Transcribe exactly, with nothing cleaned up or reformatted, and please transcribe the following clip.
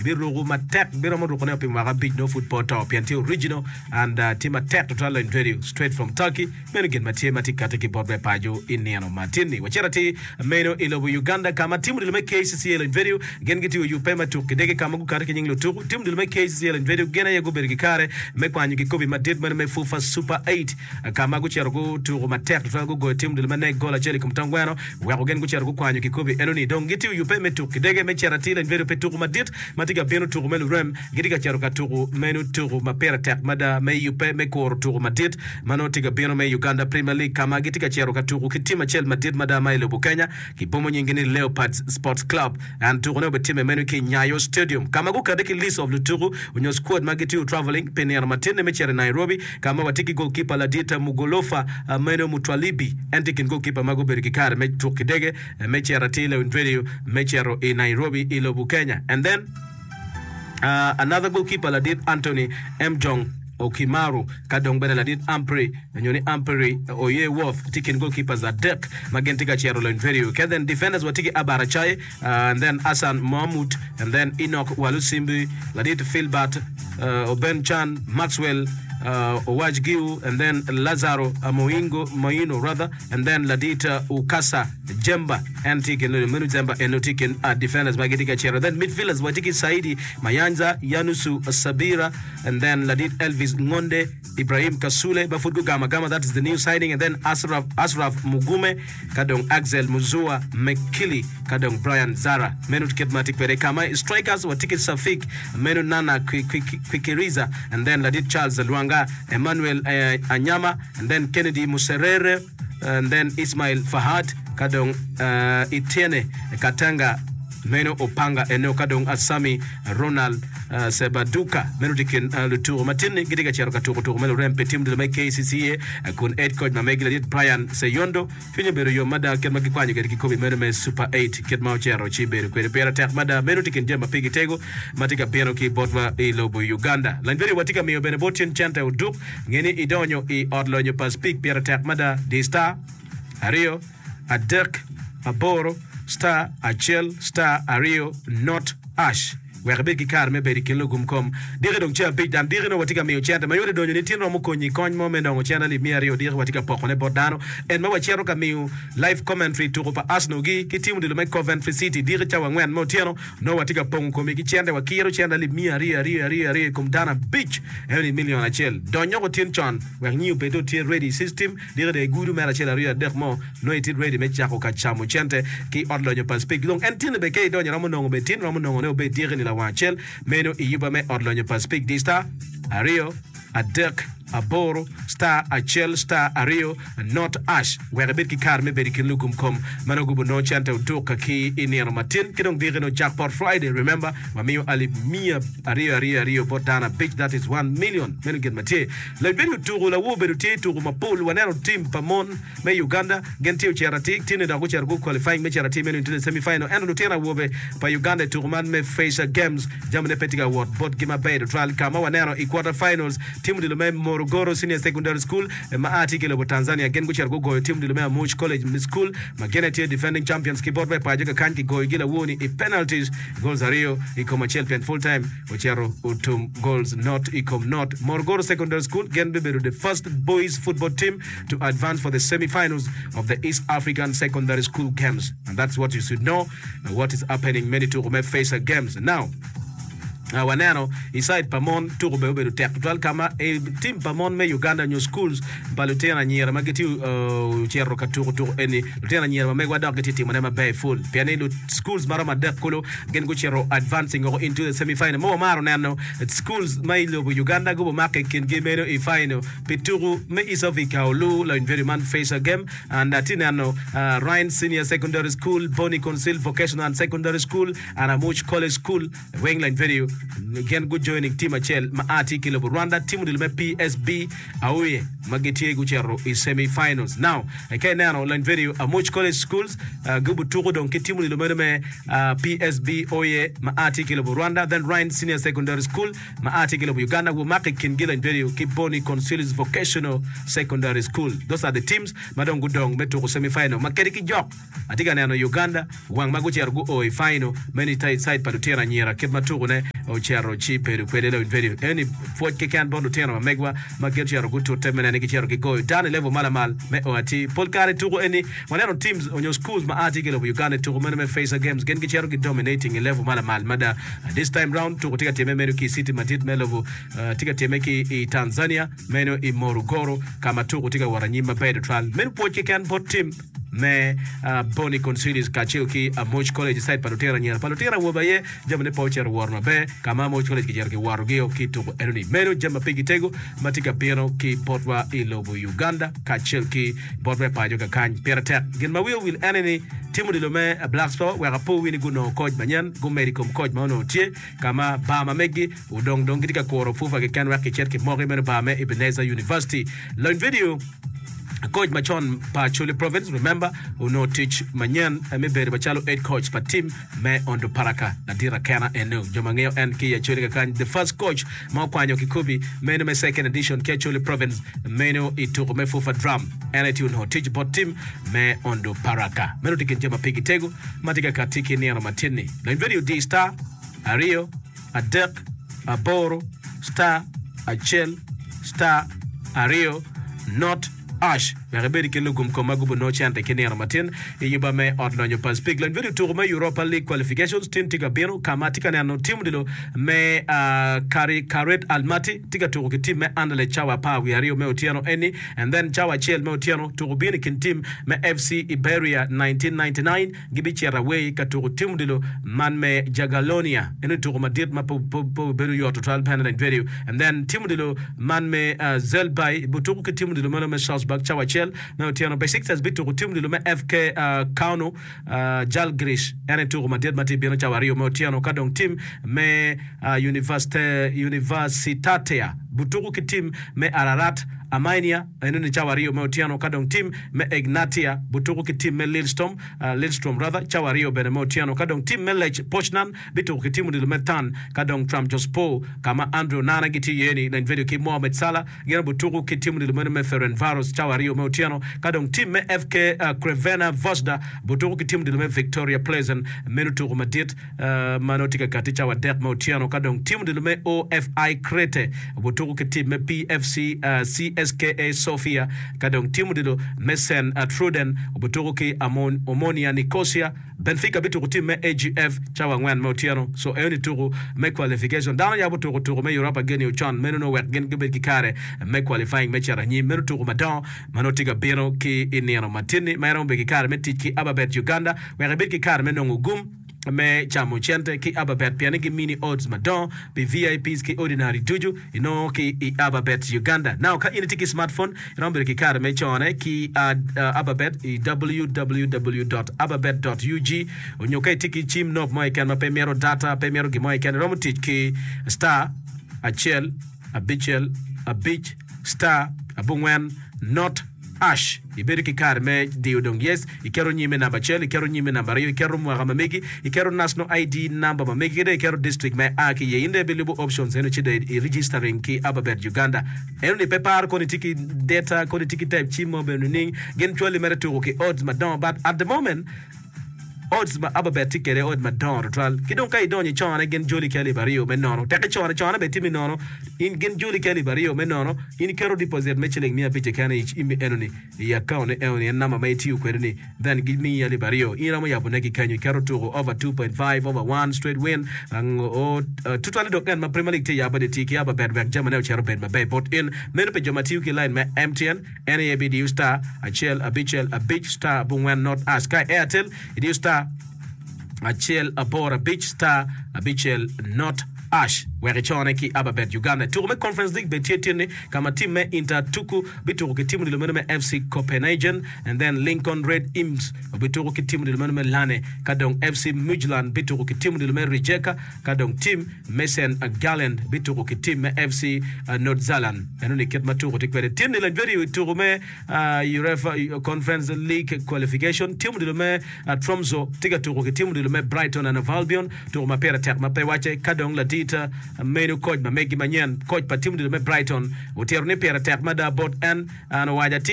Ibiruko matek, biromo rukone pi mwaka abic nongo pud pe oto pien tye original and uh, tye matek tutwal lony radio straight from Turkey. Meno gin ma tye ma tye kati ki bot me paco i nino ma tin-ni. Wacito atir meno i lobo Uganda ka ma tim odilo me K C C A lony radio gin gitiyo yubbe me tuk kidege ka ma gukati ki nying lutuku. Tim odilo me K C C A lony radio gin aye gubedo ki kare me kwanyo kikopi madit meno me FUFA Super eight ka ma gucito gutuko matek tutwal, gugoyo tim odilo me N E C gol acel i kom tongweno weko gin gucito gukwanyo kikopi enoni. Dong gitiyo yubbe me tuk kidege me cito atir lony radio pe tuku madit ma tye ka bino, tuku me lurem. Gitye ka cito ka tuku meno tuku ma pire tek mada me yubbe me kuro tuku madit ma nongo tye ka bino me Uganda Premier League, ka ma gitye ka cito ka tuku ki tim acel madit mada ma i lobo Kenya kibomo nyingi ni Leopards Sports Club. And tukune obitimme meno ki Nyayo Stadium, ka ma gukati ki list of lutuku onyo squad ma gitiyo traveling pi nino matin-ni me cito i Nairobi, ka ma watye ki goalkeeper ladit Mugolofa meno Mutwalibi. En tye i kin goalkeeper ma gubedo ki kare me tuk kidege me cito atir Lewin Radio me cito i Nairobi i lobo Kenya. And then uh, another goalkeeper ladit Anthony Mjong Okimaru, ka dong bene ladit Ampri nyo ni Amperi Oye Worth tye kin goalkeepers adek ma gin tye ka cito lony radio. Okay, then defenders watye ki Abara Chai uh, and then Hassan Mahmud and then Enoch Walusimbi, ladit Philbert uh, Oben Chan, Maxwell uh, Owajgiu and then Lazaro Moingo Moino rather, and then ladit uh, Ukasa Jemba. En tye kin meno Jemba eno tye kin uh, defenders ma gitye ka cito. Then midfielders watye ki Saidi Mayanja, Yanusu Sabira and then ladit Elvis Ngonde, Ibrahim Kasule ba pud gugamo agama, that is the new signing, and then Ashraf, Ashraf Mugume, ka dong Axel Muzua Mekili, ka dong Brian Zara. Meno kit ma tye kwede. Ka ma strikers watye ki Safik meno Nana Kwikiriza and then ladit Charles Lwanga, Emmanuel eh, Anyama and then Kennedy Muserere and then Ismail Fahad, ka dong uh, Etienne Katanga meno Opanga eno, ka dong Asami Ronald uh, Sebaduka. Meno tye kin uh, lutuko matin-ni gitye ka cito ka tuko tuko me lurem pi tim ducu me K C C A uh, kun head coach ma megi ladit Brian Seyondo cwinye obedo yom mada kit ma gikwanyo kwede kikopi meno me Super eight, kit ma ocito ci bedo kwede pire tek mada. Meno tye kin jami ma pigi tego ma tye ka bino ki botwa i lobo Uganda. Lany bedo watye ka miyo bene bot cen cente oduk ngeni idonyo i ot lonyo pa Speke pire tek mada, di star aryo adek aboro star acel star aryo not hash wek ibed ki kare me bedo i kin lugum kom diki dong ce abic dan diki no watye ka miyo cente ma yot idonyo ni tin romo konyi kony mo me nongo cente alip miya aryo. Diki watye ka pokone bot dano en ma wacito ka miyo live commentary tuko pa Arsenal gi ki tim odilo me Coventry City diki cawa angwen me otyeno. No watye ka pongo komi ki cente, wakiro cente alip miya aryo aryo aryo aryo i kom dano abic, eno ni milion acel. Donyoko tin con wek nyi obed tye ready system diki de igudu mere acel aryo adek mo no itye ready me cako ka camo cente ki ot lonyo pa Speke. Dong en tin be ke idonyo romo nongo be tin romo nongo ne obed diki ni lawang acel meno i yuba me ot lonyo pa Speke, di star aryo adek aboro star acel star aryo not hash wek ibed ki kare me bedo i kin lugum kom ma nongo gubo nongo cente oduk ki i nino matin. Ki dong diki no Jackpot Friday, remember, wamiyo alip miya aryo aryo aryo bot dano abic, that is one million. Meno gin ma tye labedo tuku lawo obedo tye tuku mapol. Waneno team pa mon me Uganda gin tye ocito atir tini dok gucito gu qualifying me cito atir meno into the semi final, ento lutino awobe pa Uganda i tuku man me Facer Games jamine pe tye ka wot botgi maber tutwal, ka ma waneno i quarter finals tim odilo me Morogoro Senior Secondary School ma a tye ki lobo Tanzania gin gucito gugoyo tim odilo me Amuch College School ma gin tye defending champions ki bot me paco kakany kigoyogi lawoni i penalties, goals aryo i kom acel, pien full time ocito otum goals not i kom not. Morogoro Secondary School gin bibedo the first boys football team to advance for the semi-finals of the East African Secondary School Games, and that's what you should know what is happening many tuko me Facer Games. Now Uh, waneno i side pa mon tuko be obedo tek tutwal, kama e, tim pa mon me Uganda nyo schools pa lutino anyira ma gitye uh, cito ka tuko tuko eni, lutino anyira ma megwa dok gitye timone maber full pien ni schools maromo adek kulu gin gucito advancing oko into the semi final. Mo wamaro neno schools ma i lobo Uganda gubo make kingi meno i final pi tuko me East Africa olu la university man Facer Game, and atye neno uh, Rhine Senior Secondary School, Bonny Council Vocational and Secondary School and Amuch College School weng la university gin gu joining team acel ma a tye ki lobo Rwanda, team odilo me P S B Aoye ma gitye gucito i semi finals. Now ka ineno la university Amuch College Schools uh, gubo tuko dong ki team odilo meno me uh, P S B Oye ma a tye ki lobo Rwanda, then Rhine Senior Secondary School ma a tye ki lobo Uganda gumako i kingi la university ki Bonny Consulis Vocational Secondary School. Those are the teams ma dong gudong me tuko semi final ma kedi ki jok atye ka neno Uganda wang ma gucito gu o i final meno i side pa lutino anyira kit ma tukone ocito ci bedo kwede lawiny radio. Eni pwoc keken bot lutino ma megwa ma gin ocito gutute me neno ni gicito gigoyo dano i level ma lamal me o atir. Pol kare i tuko eni waneno teams onyo schools ma a tye ki i lobo Uganda i tuko meno me Facer Games gin gicito gi dominating i level ma lamal mada. This time round tuko tye ka timme meno ki i city madit me lobo tye ka timme ki i Tanzania meno i Morogoro ka ma tuko tye ka wot anyim maber tutwal. Meno pwoc keken bot team me Bonny Consilius kacel ki Amoc College i side pa lutino anyira. Pa lutino awobe aye jamine pe ocito wot maber ka ma Amoc College kicito kiwotogi-o ki i tuko enoni. Meno jami ma pigi tego ma tye ka bino ki botwa i lobo Uganda kacel ki botwa i paco kakany. Pire tek gin ma wiya owil ene ni tim odilo me Blacks Power wek apo wi ni gunongo koc manyen gumedo i kom koc ma onongo tye ka ma bar ma meggi odong dong gitye ka kuro FUFA keken wek kicit kimoki meno bar me Ebenezer University. Lony vidio. Coach macon pa Acholi Province, remember, onongo tic manyen me bedo macalo head coach pa team me Onduparaka. Ladit Akena eno. Jo ma ngeyo en ki i Acholi kakany, the first coach ma okwanyo kikobi meno me second edition ki Acholi Province meno i tuko me FUFA Drum. En aye tye onongo tic bot team me Onduparaka. Meno tye kin jami ma pigi tego ma tye ka katti ki nino matin-ni. Lony video di star aryo adek aboro star acel star aryo not ash wek ibed i kin lugum kom ma gubo nongo cente ki nino matin i yuba me ot lonyo pa Speke. Lony bedo tuko me Europa League qualifications tin tye ka bino ka ma atye ka neno tim odilo me Kairat Almaty tye ka tuko ki tim me Anderlecht cawa apar wiye aryo me otyeno eni and then cawa acel me otyeno tuko bino i kin tim me F C Iberia nineteen ninety-nine gibicito away ka tuko tim odilo man me Jagiellonia. Eno tuko madit ma pe obedo yot tutwal bene lany video and then tim odilo man me Zelby butuko ki tim odilo meno me Salzburg cawa acel me otyeno. Besiktas bituko tim odilo me F K Kauno Žalgiris en aye tuko madit ma tye bino cawa aryo me otyeno ka dong tim me Universitatea butuko ki tim me Ararat Armenia enoni cawa aryo me otyeno ka dong tim me Egnatia butuko ki tim me Lillestrøm Lillestrøm rather cawa aryo bene me otyeno ka dong tim me Lech Poznan bituko ki tim odilo me Thun ka dong Trabzonspor ka ma Andre Onana gitye iye ni lany video ki Mohamed Salah gin butuko ki tim odilo meno me Ferencvaros cawa aryo me otyeno ka dong tim me F K Crvena Zvezda butuko ki tim odilo me Victoria Plzen meno tuko madit ma nongo tye ka kati cawa adek me otyeno ka dong tim odilo me O F I Crete butuko ki tim me P F C C S K A Sofia ka dong tim odilo me Saint Truiden butuko ki Omonia Nicosia. Benfica bituko tim me A G F cawa angwen me otyeno. So enoni tuko me qualification dano yabo tuko tuko me Europa geni ocon meno nongo wek gin gibed ki kare me qualifying me cito anyim meno tuko madongo ma nongo tye ka bino ki i nino matin-ni ma iromo bedo ki kare me tic ki Ababet Uganda wek ibed ki kare me nongo gum me camo cente ki Ababet pien ni gimini odds madongo pi V I Ps ki ordinary ducu inongo ki i Ababet Uganda. Now ka in itye ki smartphone iromo bedo ki kare me cone ki uh, uh, Ababet i w w w dot ababet dot u g onyo ka itye ki cim nok mo keken ma pe mito data pe mito gimo keken iromo tic ki star acel abicel abic star abongwen not hash ibedo ki kare me diyo dong yes iketo nyime namba acel iketo nyime namba aryo iketo mwaka ma megi iketo national I D number ma megi kede iketo district ma ia ki iye in dong ibilubo options eno ci dong i registering ki Ababet Uganda eno ni pe paro koni tye ki data koni tye ki type cim mo bene nining gin cwali mere tuko ki odds madongo but at the moment odds ma Ababet tye kwede odds madongo tutwal ki dong ka idonyo icone gin joli ki alip aryo me nono tek icone cone bene tye me nono in gin joli ki alip aryo me nono in iketo deposit me ciling miya abic keken i cimmi enoni i account ni enoni en namba ma itiyo kwede ni then gimiyi alip aryo in iromo yabone ki kenyo iketo tuko over two point five over one straight win tutwale dok en ma Premier League tye yabo ni ti ki Ababet wek jamine ocito obed maber bot in meno pi jo ma tiyo ki line me M T N en aye bidiyo star acel abicel abic star abongwen not hash ka Airtel idiyo star acel aboro abic star abicel not hash wek icone ki Ababet Uganda. Tuko me Conference League bene tye tin-ni ka ma tim me Inter Tuku bituko ki tim odilo meno me F C Copenhagen and then Lincoln Red Imps obituko ki tim odilo meno me Lane ka dong F C Midtjylland bituko ki tim odilo me Rijeka ka dong tim me Saint Gallen bituko ki tim me F C Nordsjælland. Eno ni kit ma tuko tye kwede tin-ni lany bedo i tuko me UEFA Conference League qualification tim odilo me Tromso tye ka tuko ki tim odilo me Brighton and Hove Albion tuko ma pire tek ma pe wacce ka dong ladit meno coach ma megi manyen coach pa tim odilo me Brighton otito ni pire tek mada bot en an owaco atir.